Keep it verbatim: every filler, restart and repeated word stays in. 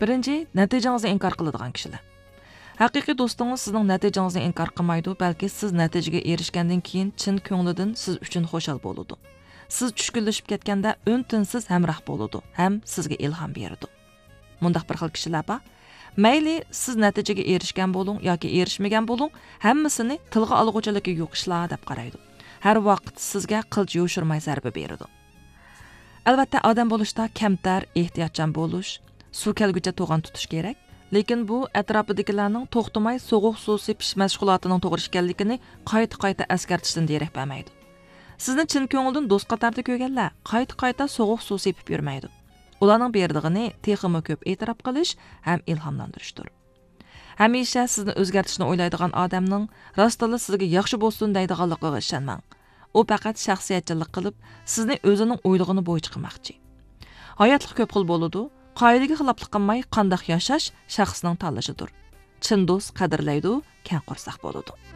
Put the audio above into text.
بىرىنچى، نەتىجىڭىزنى ئىنكار قىلىدىغان كىشىلەر. ھەقىقىي دوستىڭىز سىزنىڭ نەتىجىڭىزنى ئىنكار قىلمايدۇ، بەلكى سىز نەتىجىگە ئېرىشكەندىن كېيىن چىن كۆڭلىدىن سىز ئۈچۈن خۇشال بولىدۇ. سىز چۈشكۈنلىشىپ كەتكەندە ئۈن-تىنسىز ھەمراھ بولىدۇ ھەم سىزگە ئىلھام بېرىدۇ. مۇنداق بىر خىل كىشىلەر بار. مەيلى سىز نەتىجىگە ئېرىشكەن بولۇڭ ياكى ئېرىشمىگەن بولۇڭ، ھەممىسىنى تىلغا ئالغۇچىلىكى يوق ئىشلار دەپ قارايدۇ. ھەر ۋاقىت سىزگە قىلچە يوشۇرماي زەربە بېرىدۇ. ئەلۋەتتە، ئادەم بولۇشتا كەمتەر، ئېھتىياتچان بولۇش، سۇ كەلگۈچە توغان تۇتۇش كېرەك. لېكىن بۇ ئەتراپىدىكىلەرنىڭ توختىماي سوغۇق سۇ سېپىش مەشغۇلاتىنىڭ توغرا ئىكەنلىكىنى قايتا-قايتا ئەسكەرتىشتىن دېرەك بەرمەيدۇ. سىزنى چىن كۆڭۈلدىن دوست قاتاردا كۆرگەنلەر قايتا-قايتا سوغۇق سۇ سېپىپ يۈرمەيدۇ. ئۇلارنىڭ بېرىدىغىنى تېخىمۇ كۆپ ئېتىراپ قىلىش ھەم ئىلھاملاندۇرۇشتۇر. ھەمىشە سىزنى ئۆزگەرتىشنى ئويلايدىغان ئادەمنىڭ راستتىنلا سىزگە ياخشى بولسۇن دەيدىغانلىقىغا ئىشەنمەڭ. ئۇ پەقەت شەخسىيەتچىللىك قىلىپ، سىزنى ئۆزىنىڭ ئويلىغىنى بويىچە قىلماقچى. ھاياتلىق كۆپ خىل بولىدۇ. قائىدىگە خىلاپلىق قىلماي قانداق ياشاش شەخسنىڭ تاللىشىدۇر. چىن دوست قەدىرلەيدۇ، كەڭ قورساق بولىدۇ.